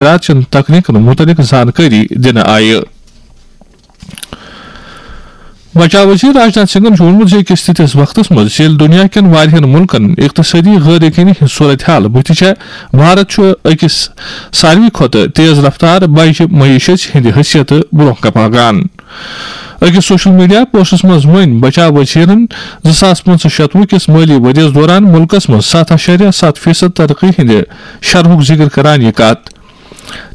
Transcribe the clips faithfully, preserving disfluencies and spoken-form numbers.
مخدرات چٮ۪ن تکنیکن متعلق زانکٲری دِنہٕ آیہِ۔ بچاو وزیر راجناتھ سنگھن چھُ ووٚنمُت زِ أکِس تِتھِس وقتس منٛز ییٚلہِ دُنیا کٮ۪ن واریاہن مُلکن اقتصٲدی غٲر یقینی ہٕنٛز صورتحال بُتھِ چھےٚ، بھارت چھُ أکِس ساروی کھۄتہٕ تیز رفتار بجہِ معیشت ہٕنٛدِ حیثیتہٕ برونٛہہ پکان۔ أکِس سوشل میڈیا پوسٹس منٛز ؤنۍ بچاو وزیرن زٕ ساس پنٛژاہ شتوُہ کِس مٲلی ؤرۍ یَس دوران مُلکس منٛز ستھ اعشاریہ ستھ فیصد ترقی ہٕنٛدِ شرحُک ذِکر کران یہِ کتھ۔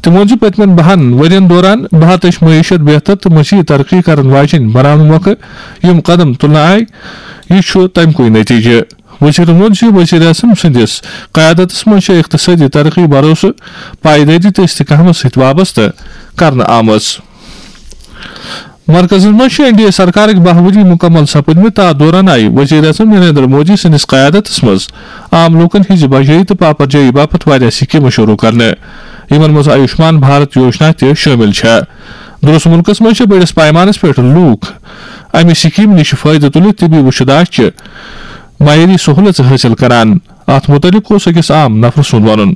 تٔمۍ ووٚن زِ پٔتمٮ۪ن بَہَن ؤرۍ یَن دوران بھارتٕچ معیشت بہتر تہٕ مزید ترقی کرن واجٮ۪ن بناونہٕ مۄکھٕ یِم قدم تُلنہٕ آیہِ، یہِ چھُ تَمہِ کُے نتیجہٕ۔ وزیرن ووٚن زِ وزیر اعظم سٕنٛدِس قیادتس منٛز چھےٚ اقتصٲدی ترقی، بھروسہٕ، پائیدٲری تہٕ استحکامس سۭتۍ وابستہٕ کرنہٕ آمٕژ۔ مرکزس منٛز چھِ این ڈی اے سرکارٕکۍ باہ ؤری مُکمل سپٕدمٕتۍ۔ تَتھ دوران آیہِ وزیر اعظم نریندر مودی سٕنٛدِس قیادتس منٛز عام لوٗکن ہٕنٛزِ بجٲیی تہٕ پاپرجٲیی باپتھ واریاہ سکیمہٕ شروٗع کرنہٕ، یِمن منٛز آیوشمان بھارت یوجنا تہِ شٲمِل چھےٚ۔ درست مُلکس منٛز چھِ بٔڑِس پیمانس پٮ۪ٹھ لوٗکھ امہِ سکیمہِ نِش فٲیدٕ تُلِتھ طبی وُچھداشچہِ معیٲری سہوٗلژٕ حٲصِل کران۔ اتھ مُتعلق اوس أکِس عام نفرٕ سُنٛد وَنُن۔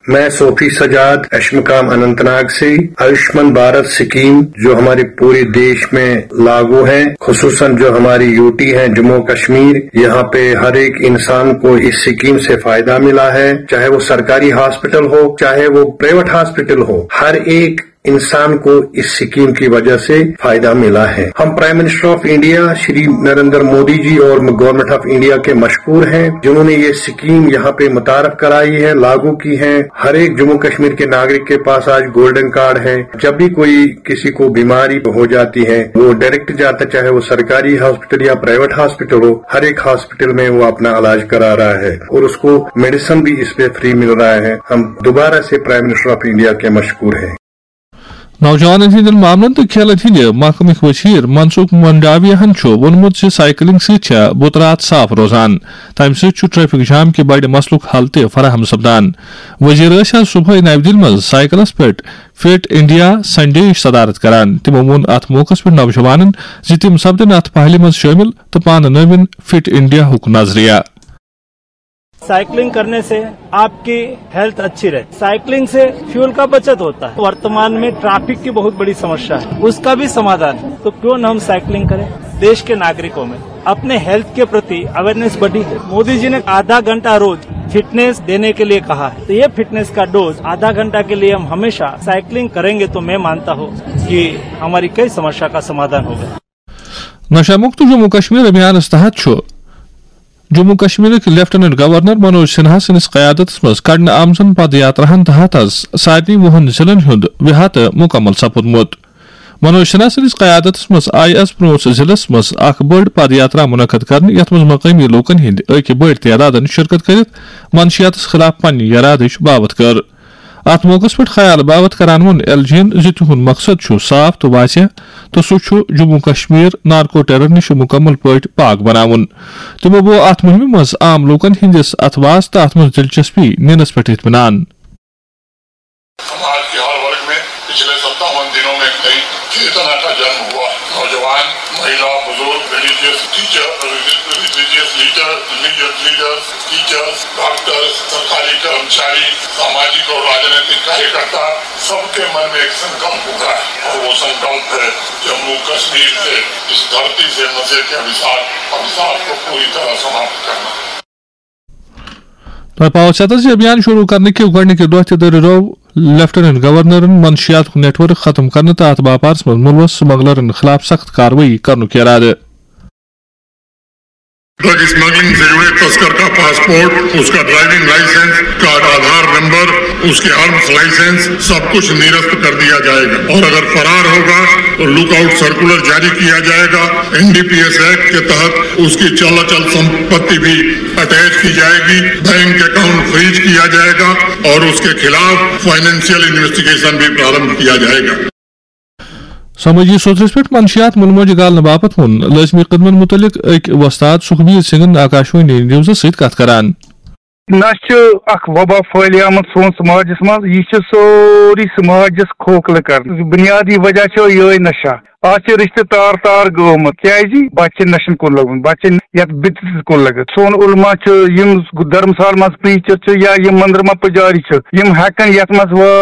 मैं सोफी सजाद, अशमकाम अनंतनाग से। आयुष्मान भारत स्कीम जो हमारे पूरे देश में लागू है, खुसूसन जो हमारी यूटी है जम्मू कश्मीर, यहाँ पे हर एक इंसान को इस स्कीम से फायदा मिला है, चाहे वो सरकारी हॉस्पिटल हो, चाहे वो प्राइवेट हॉस्पिटल हो, हर एक इंसान को इस स्कीम की वजह से फायदा मिला है। हम prime minister of India Shri Narendra Modi ji और गवर्नमेंट ऑफ इंडिया के मशकूर हैं, जिन्होंने ये स्कीम यहाँ पे मुतारफ कराई है, लागू की है। हर एक जम्मू कश्मीर के नागरिक के पास आज गोल्डन कार्ड है। जब भी कोई किसी को बीमारी हो जाती है, वो डायरेक्ट जाता, चाहे वो सरकारी हॉस्पिटल या प्राइवेट हॉस्पिटल हो, हर एक हॉस्पिटल में वो अपना इलाज करा रहा है और उसको मेडिसिन भी इस पे फ्री मिल रहा है। हम दोबारा से प्राइम मिनिस्टर ऑफ इंडिया के मशकूर हैं। نوجوانن ہٕنٛدٮ۪ن معاملن تہٕ کھیلن ہٕنٛدِ محکمٕکۍ وزیر منسکھ منڈاویاہن چھُ ووٚنمُت زِ سائیکلنگ سۭتۍ چھےٚ بُتھ راتھ صاف روزان، تَمہِ سۭتۍ چھُ ٹریفک جام کہِ بڑِ مسلُک حل تہِ فراہم سپدان۔ وزیر ٲسۍ آز صبحٲے نَوِ دِلہِ منٛز سائیکلس پٮ۪ٹھ فٹ انڈیا سنڈے ہٕچ صدارت کران۔ تِمو ووٚن اتھ موقعس پٮ۪ٹھ نوجوانن زِ تِم سپدن اتھ پہلہِ منٛز شٲمِل تہٕ پانہٕ نٲوِن فٹ انڈیا ہُک نظریہ۔ साइकिलिंग करने से आपकी हेल्थ अच्छी रहती। साइकिलिंग से फ्यूल का बचत होता है। वर्तमान में ट्रैफिक की बहुत बड़ी समस्या है, उसका भी समाधान है। तो क्यों न हम साइकिलिंग करें? देश के नागरिकों में अपने हेल्थ के प्रति अवेयरनेस बढ़ी है। मोदी जी ने आधा घंटा रोज फिटनेस देने के लिए कहा है, तो ये फिटनेस का डोज आधा घंटा के लिए हम हमेशा साइकिलिंग करेंगे तो मैं मानता हूँ कि हमारी कई समस्या का समाधान होगा। نشہ مکت جموں کشمیر ابھیانس تحت چھُ جموں کشمیرٕکۍ لیفٹیننٹ گورنر منوج سنہا سٕنٛدِس قیادتس منٛز کڑنہٕ آمژن پد یاتراہن تحت از سارنٕے وُہن ضلعن ہُنٛد احاطہٕ مُکمل سپُدمُت۔ منوج سنہا سٕنٛدِس قیادتس منٛز آیہِ از پرٛوٚنٛژھ ضلعس منٛز اکھ بٔڑ پد یاترا منعقد کرنہٕ، یتھ منٛز مقٲمی لوٗکن ہٕنٛدۍ أکۍ بٔڑۍ تعدادن شرکت کٔرِتھ منشیاتس خلاف پننہِ یرادٕچ باوتھ کٔر۔ اتھ موقعس پٮ۪ٹھ خیال باوتھ کران ووٚن ایل جی ین زِ تِہُنٛد مقصد چھُ صاف تہٕ واضح، تہٕ سُہ چھُ جموں کشمیر نارکو ٹیرر نِش مُکمل پٲٹھۍ پاک بناوُن۔ تِمو بوو اتھ مُہِمہِ منٛز عام لوٗکن ہٕنٛدِس اتھواس تہٕ اتھ منٛز دلچسپی نِنس پٮ۪ٹھ اطمینان۔ समाज के हर वर्ग में पिछले सत्तावन दिनों में कई चेतना का जन्म हुआ। नौजवान, महिला, बुजुर्ग, religious teacher, religious leader, religious leaders, teachers, doctors, सरकारी कर्मचारी, सामाजिक और राजनीतिक कार्यकर्ता, सबके मन में एक संकल्प उभरा है और वो संकल्प है जम्मू कश्मीर से, इस धरती से नशे के अभिशाप अभिशाप को पूरी तरह समाप्त करना। تۄہہِ پاوو ژھٮ۪تس زِ ابھیان شروع کرنہٕ کہِ گۄڈٕنِکہِ دۄہ تہِ دٔرِرٲو لیفٹیننٹ گورنرن منشیاتُک نیٹ ورک ختم کرنہٕ تہٕ اتھ باپارس منٛز مُلوث سمگلرن خلاف سخت کاروٲیی کرنُک ارادٕ۔ ڈرگ اسمگلنگ سے جڑے تسکر کا پاسپورٹ، اس کا ڈرائیونگ لائسنس، اس کا آدھار نمبر، اس کے آرمز لائسنس، سب کچھ نرست کر دیا جائے گا اور اگر فرار ہوگا تو لک آؤٹ سرکولر جاری کیا جائے گا۔ N D P S act کے تحت اس کی چل اچل سمپتی بھی اٹیچ کی جائے گی، بینک اکاؤنٹ فریز کیا جائے گا اور اس کے خلاف فائنینشیل انویسٹیگیشن بھی پرارمبھ کیا جائے گا۔ سمٲجی سوتھرس پٮ۪ٹھ منشیات مُلموجہِ گالنہٕ باپتھ ووٚن لٲزمی قدمن مُتعلق أکۍ وۄستاد سُکھبیر سنگھن آکاشوانی نیوزس سۭتۍ کتھ کران۔ نشہٕ چھُ اکھ وبا پھٲلیمٕژ سون سماجس منٛز۔ یہِ چھُ سورُے سماجس کھوکھلہٕ کران۔ بنیادی وجہ چھُ یِہوٚے نشہ۔ اتھ چھِ رشتہٕ تار تار گٔمٕژ۔ کیازِ؟ بچہِ چھِ نشن کُن لٔگمٕتۍ، بچہِ چھِ یتھ بدعتس کُن لٔگِتھ۔ سون علما چھُ، یِم دھرمسال منٛز پریچر چھِ یا یِم مندر منٛز پجاری چھِ، یِم ہٮ۪کن یتھ منٛز وٲ-